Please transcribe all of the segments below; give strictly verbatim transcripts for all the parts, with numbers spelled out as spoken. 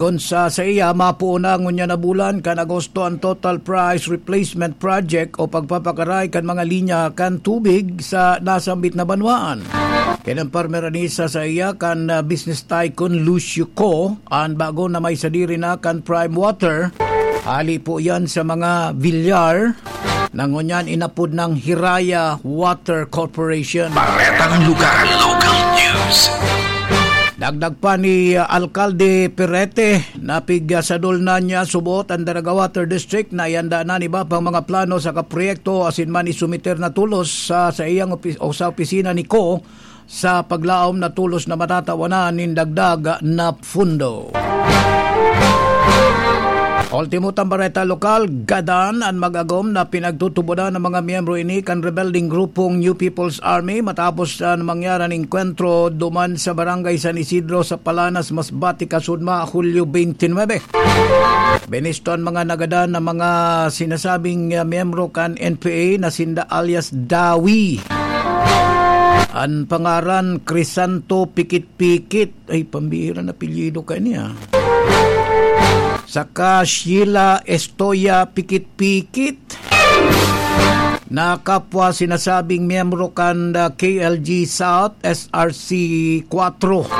Kun sa saiya, mapuon na ngunyan na bulan kan Agosto an total price replacement project o pagpapakaray kan mga linya kan tubig sa nasambit na banwaan. Kinampar mi rani sa saiya kan, ah, business tycoon Lucio Co, an bago na may sadiri na kan Prime Water. Hali po yan sa mga Villar na ngunyan inapod ng Hiraya Water Corporation. Baretang Lugar, Local News. Dagdag pa ni, uh, Alkalde Perete, napigsadol na niya subot an Daraga Water District na ianda na an iba pang mga plano sa kaproyekto asin man isumiter na tulos sa, sa iyang opi-, o sa opisina ni Co sa paglaom na tulos na matatawanan nin dagdag na pundo. Ultimo tang bareta lokal, gadan an mag-agom na pinagtutubodan ng mga miyembro ini kan rebelding grupong New People's Army matapos an mangyari na engkwentro duman sa Barangay San Isidro sa Palanas, Masbate, Kasudma, Hulyo twenty-nine. Binisto an mga nagadan na mga sinasabing, ah, miyembro kan N P A na sinda alias Dawi. An pangaran, Crisanto Pikit-Pikit. Ay, pambihira na apelyido kaya niya. Saka Sheila Estoya Pikit-Pikit, na kapwa sinasabing miyembro kan, uh, K L G South S R C four.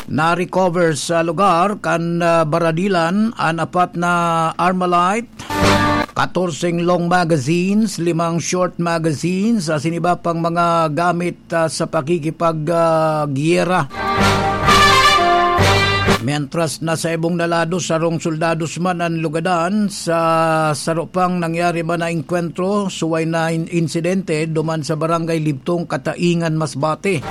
Na-recover sa lugar kan, uh, baradilan an apat na Armalite, katorseng long magazines, limang short magazines, asin iba pang mga gamit, ah, sa pakikipag, ah, giyera. Mientras na sa ibong na lado, sarong soldados man an lugadan sa saro pang nangyari man na engkwentro, suway na in-, insidente duman sa Barangay Libtong, Kataingan, Masbate.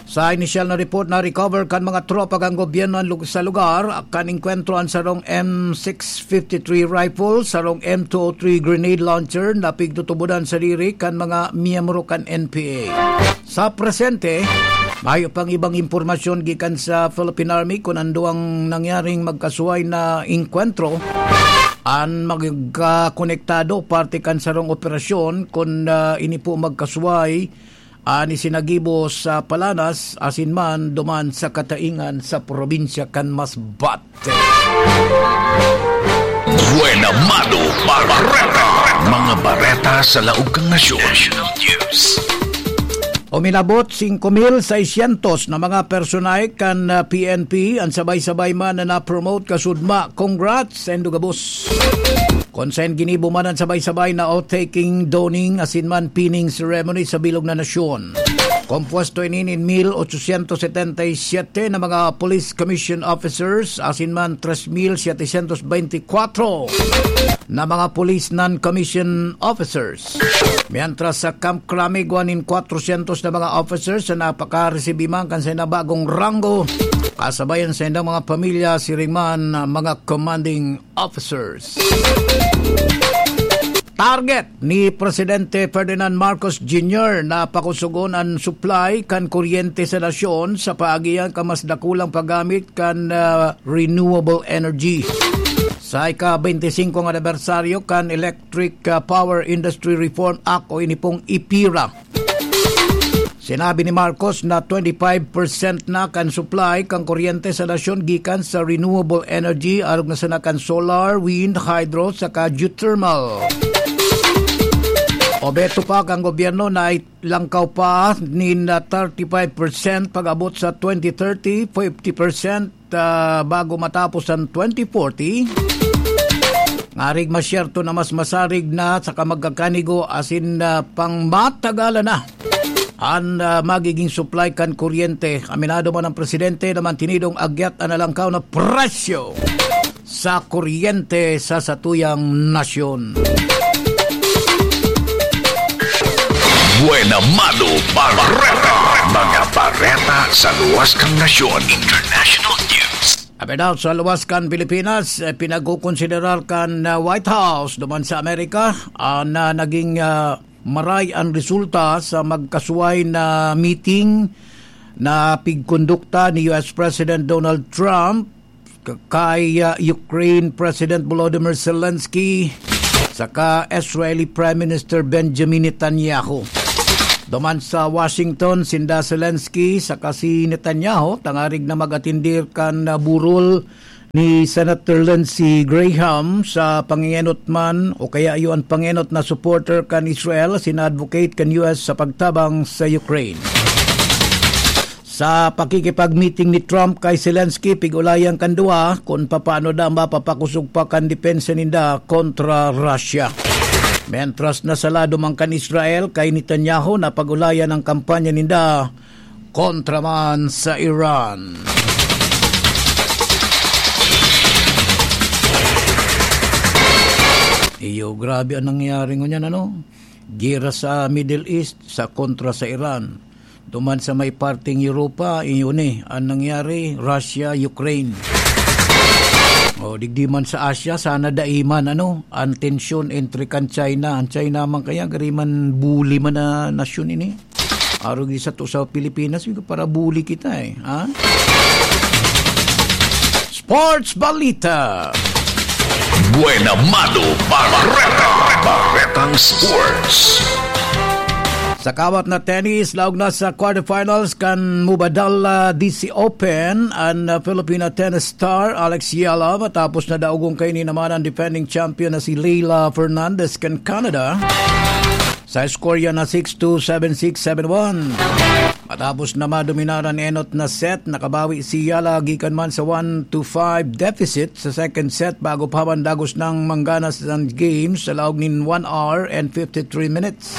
Sa inisyal na report, na-recover kan mga tropa kan gobyerno an lug-, sa lugar, kan engkwentro an sarong M six fifty-three rifle, sarong M two oh three grenade launcher na pigtutubodan sadiri kan mga miyembro kan N P A. Sa presente, mayo pang ibang impormasyon gikan sa Philippine Army kun ano ang nangyaring magkasuway na engkwentro. An magkakonektado parte kan sarong operasyon kun, ah, ini po magkasuway an isinagibo sa Palanas asin man duman sa Kataingan sa probinsya kan Masbate. Buena Mano Bareta. Mga bareta sa laog kan nasyon. National News. Uminabot singko mil seiscientos na mga personahe kan, ah, P N P an sabay-sabay man na na-promote kasudma. Congrats! Sendo gabos. Kun saen ginibo man an sabay-sabay na oath-taking, dawning, asin man pinning ceremony sa bilog na nasyon. Kompuesto ini nin mil ochocientos setenta y siete na mga police commission officers, asin man tres mil setecientos veinticuatro na mga police non-commission officers. Mientras sa Camp Crame, igwa nin kwatrocientos na mga officers na napakaresibi man kan saindang bagong ranggo, kasabay an saindang mga pamilya, siring man na mga commanding officers. Target ni Presidente Ferdinand Marcos Junior na pakusogon an supply kan kuryente sa nasyon sa paagihan kan mas dakulang paggamit kan, ah, renewable energy. Sa ika-twenty-singko nga anibersaryo kan Electric, ah, Power Industry Reform Act o ini pong ipira, sinabi ni Marcos na twenty-five percent na kan supply kan kuryente sa nasyon gikan sa renewable energy, arog na sana kan solar, wind, hydro, saka geothermal. Obeto pa kan gobyerno na langkaw pa nin, ah, thirty-five percent pag-abot sa twenty thirty, fifty percent, ah, bago matapos an twenty forty. Ngarig masyerto na mas masarig na saka magkakanigo asin, ah, pangmatagalan na an, ah, magiging supply kan kuryente. Aminado man ang presidente na mantinidong agyat an nalangkaw na presyo sa kuryente sa satuyang nasyon. Buena Mano Bareta. Mga bareta sa luwas kan nasyon. International News. Abidal sa luwas kan Pilipinas, eh, pinagkukonsiderar kan, ah, White House duman sa Amerika, ah, na naging, ah, maray an resulta sa magkasuway na meeting na pigkondukta ni U S President Donald Trump k-, kay, ah, Ukraine President Volodymyr Zelensky saka Israeli Prime Minister Benjamin Netanyahu. Duman sa Washington, sinda Zelensky saka si Netanyahu tangarig na mag-atindir kan, ah, burol ni Senator Lindsey Graham sa pangenot man o kaya iyo an pangenot na supporter kan Israel asin advocate kan U S sa pagtabang sa Ukraine. Sa pakikipag-meeting ni Trump kay Zelensky, pig-ulayan kan duwa kun papaano daw mapapakosog pa kan depensa ninda kontra Russia. Mientras, nasa lado man kan Israel kay Netanyahu, napag-ulayan ang kampanya ninda kontra man sa Iran. Iyo, grabe ang nangyari ngunyan, ano? Gera sa Middle East, sa kontra sa Iran. Duman sa may parteng Europa, iyon eh, ang nangyari, Russia, Ukraine. O, digdi man sa Asia, sana dai man, ano, ang tensyon entre kan China. Ang China man kaya, gari man buli man na nasyon ini. Arog di sa to sa Pilipinas, yung para buli kita eh, ha? Sports Balita. Buena Mado Barreta. Barretang Sports. Sa kawat na tennis, laog na sa quarterfinals kan Mubadala D C Open an, uh, Filipina tennis star Alex Yala, matapos na daogon kaini naman ang defending champion na si Leila Fernandez kan Canada sa score yan na six two, seven six, seven one. Matapos na madominar an enot na set, nakabawi si Yala gikan man sa one to five deficit sa second set bago pa man dagos nang manggana sa game sa laog nin one hour and fifty-three minutes.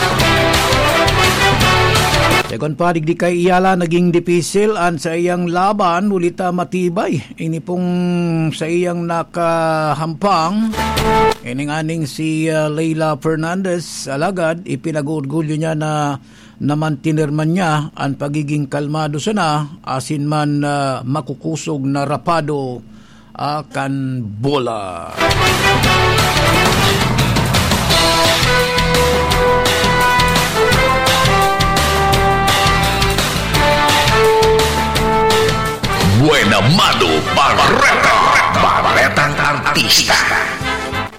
Segun pa, digdi kay Yala naging dipisil an saiyang laban, huli ta matibay ini pong saiyang nakahampang. Ining aning si, ah, Leila Fernandez, alagad ipinag-orgulyo niya na namantener man niya an pagiging kalmado sana asin man, ah, makukusog na rapado, ah, kan bola. Buena Mado Barreta. Barretang Artista.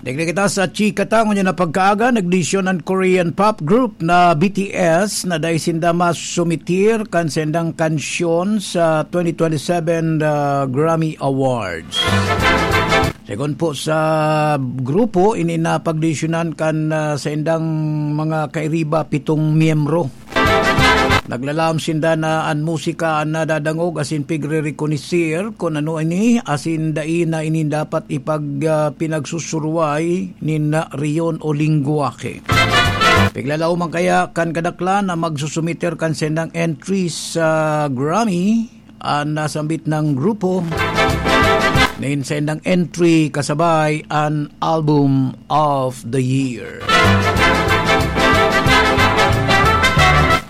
Digdi kita sa chika ta, ngunyan na pagkaaga, nagdesisyon an Korean pop group na B T S na dai sinda masumitir kan sendang kansyon sa twenty twenty-seven, uh, Grammy Awards. Segun po sa grupo, ini napagdesisyonan kan, uh, sendang mga kairiba, pitong miyembro. Naglalaom sinda na an musika an nadadangog asin pigre-rekonoser kun ano ini, asin dai na ini dapat ipag-, ah, pinagsusuruway nin na rehiyon o lengwahe. Piglalaoman kaya kan kadaklan na magsusumiter kan sendang entry sa Grammy an nasambit na grupo, nin sendang entry kasabay an Album of the Year.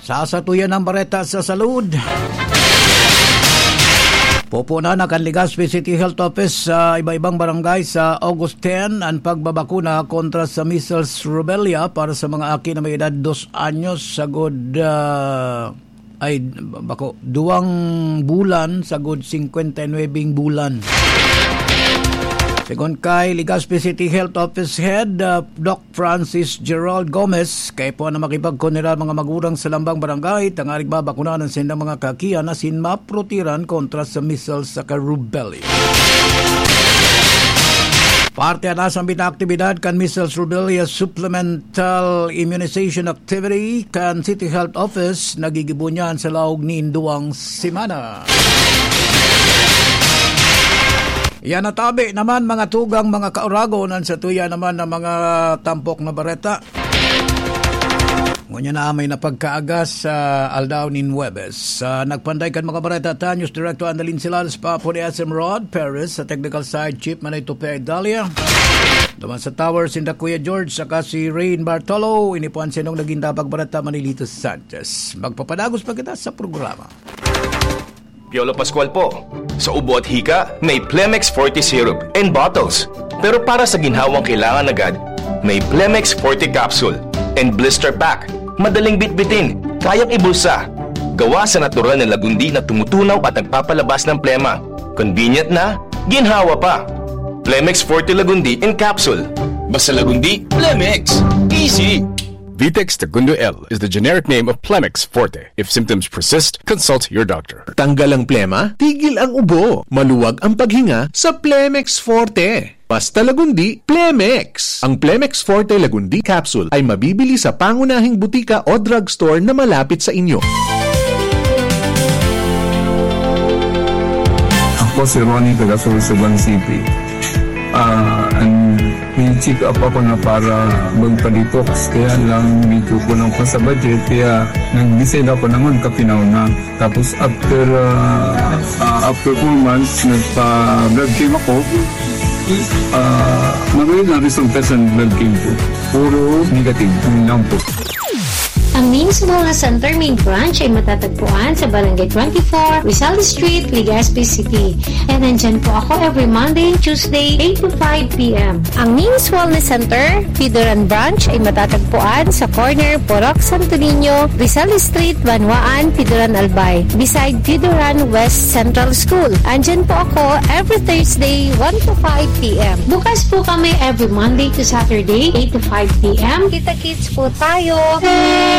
Sa satuyan ang bareta sa salud. Pupunan na kan Legazpi City Health Office sa iba-ibang barangay sa August ten an pagbabakuna kontra sa measles rubella para sa mga aki na may edad dos anyos sagod, ah, ay, bako, duwang bulan sagod singkwenta y nuwebeng bulan. Segun kay Legazpi City Health Office Head, ah, Doc Francis Gerald Gomez, kaipuhan na makipagkonera mga magurang sa lambang barangay tanganing mabakunahan an sindang mga kakian asin maprotehiran kontra sa measles saka rubella. Parte na sa aktibidad kan measles rubella supplemental immunization activity kan City Health Office, nagigibo niyan sa laog nin duwang semana. Yan, natabi naman, mga tugang, mga kauragon, an satuya naman na mga tampok na bareta. Ngunyan na may napagkaagas sa aldaw nin Huwebes. Sa nagpanday kan mga bareta, ta, News Director Annalyn Silas, Papo ni S M Rod Perez, sa technical side, Chief Manay Tupe Dalia. Duman sa Towers, sinda Kuya George, saka si Rain Bartolo. Ini po an sinong naging tapag bareta, Manilito Sanchez. Magpapadagos pa kita sa programa. Piolo Pascual po. Sa ubo at hika, may Plemex Forte Syrup and Bottles. Pero para sa ginhawang kailangan agad, may Plemex Forte Capsule and Blister Pack. Madaling bitbitin, kayang ibulsa. Gawa sa natural na lagundi na tumutunaw at nagpapalabas ng plema. Convenient na, ginhawa pa. Plemex Forte Lagundi in Capsule. Basta Lagundi, Plemex. Easy! Vitex Segundo L is the generic name of Plemex Forte. If symptoms persist, consult your doctor. Tanggal ang plema, tigil ang ubo, maluwag ang paghinga sa Plemex Forte. Basta Lagundi, Plemex! Ang Plemex Forte Lagundi Capsule ay mabibili sa pangunahing butika o drugstore na malapit sa inyo. Ako si Ronnie, taga Sorsogon City. Ah, and may check up ako na para magpa-detox, kaya lang medyo kulang pa sa budget, kaya nag-decide ako na magkapinaw na. Tapos after, ah, ah, after four months, nagpa-blood chem ako. Ah, maganda ang resulta sa blood chem ko. Puro negative, yun lang po. Ang Names Wellness Center main branch ay matatagpuan sa Barangay twenty-four, Rizal Street, Legazpi City. And nandyan po ako every Monday and Tuesday, eight to five p.m. Ang Names Wellness Center, Pidoran Branch ay matatagpuan sa corner Purok Santo Niño, Rizal Street, Banwaan, Pidoran Albay, beside Pidoran West Central School. Andyan po ako every Thursday, one to five p.m. Bukas po kami every Monday to Saturday, eight to five p.m. Kita-kits po tayo!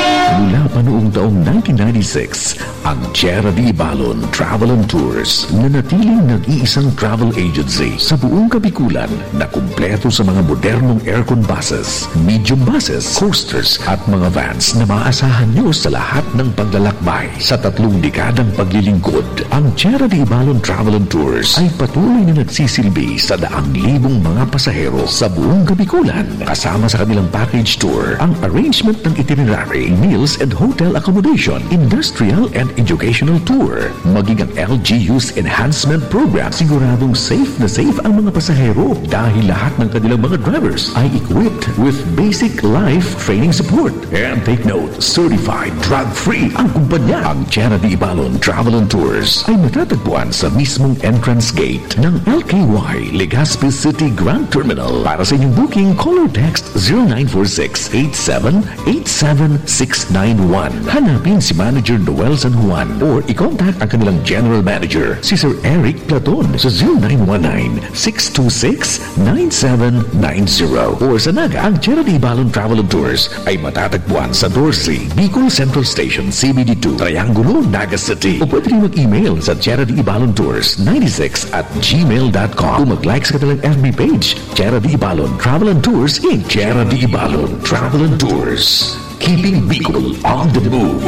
Mula pa noong taong nineteen ninety-six, ang Tierra de Ibalon Travel and Tours nanatiling nag-iisang travel agency sa buong Kabikulan na kumpleto sa mga modernong aircon buses, medium buses, coasters at mga vans na maaasahan nyo sa lahat ng paglalakbay. Sa tatlong dekadang paglilingkod, ang Tierra de Ibalon Travel and Tours ay patuloy na nagsisilbi sa daang libong mga pasahero sa buong Kabikulan. Kasama sa kanilang package tour ang arrangement ng itinerary, meals and hotel accommodation, industrial and educational tour, maging ang L G U's enhancement program. Siguradong safe na safe ang mga pasahero dahil lahat ng kanilang mga drivers ay equipped with basic life training support. And take note, certified drug-free ang kumpanya. Ang Tierra de Ibalon Travel and Tours ay matatagpuan sa mismong entrance gate ng L K Y Legazpi City Grand Terminal. Para sa inyong booking, call or text zero nine four six eight seven eight seven six nine one. Hanapin si Manager Noel San Juan or i-contact ang kanilang General Manager, si Sir Eric Platon, sa zero nine one nine six two six nine seven nine zero. Or sa Naga, ang Tierra de Ibalon Travel and Tours ay matatagpuan sa doce, Bicol Central Station, C B D two, Triangulo, Naga City. O pwede rin mag-email sa Tierra de Ibalon Tours ninety-six at gmail dot com. O mag-like sa kanilang F B page, Tierra de Ibalon Travel and Tours, Inc. Tierra de Ibalon Travel and Tours. Keeping Bicol on the move.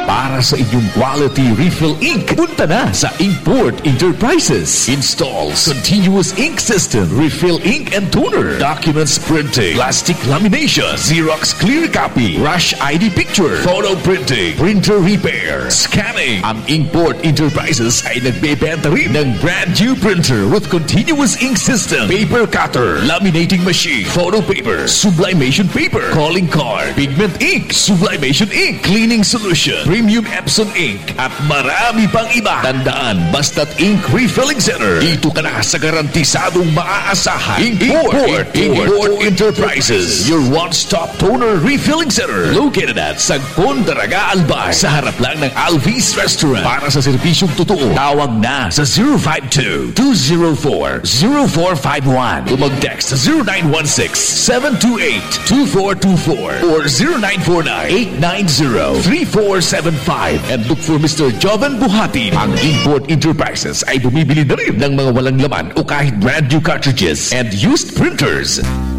Para sa inyong quality refill ink, punta na sa Inkport Enterprises. Installs continuous ink system, refill ink and toner, documents printing, plastic lamination, Xerox clear copy, rush I D picture, photo printing, printer repair, scanning. Ang Inkport Enterprises ay nagbebenta rin ng brand new printer with continuous ink system, paper cutter, laminating machine, photo paper, sublimation paper, calling card, pigment ink, sublimation ink, cleaning solution, premium Epson ink, at marami pang iba. Tandaan, basta't ink refilling center, dito ka na sa garantisadong maaasahan. Import, Import, Import Enterprises, your one-stop toner refilling center. Located at Sagpon, Daraga, Albay, sa harap lang ng Alvis Restaurant. Para sa serbisyong totoo, tawag na sa zero five two, two zero four, zero four five one. O mag-text sa zero nine one six, seven two eight, two four two four or zero nine four nine, eight nine zero, three four seven five and look for Mister Joven Buhatin. Ang Import Enterprises ay bumibili na rin ng mga walang laman o kahit brand new cartridges and used printers.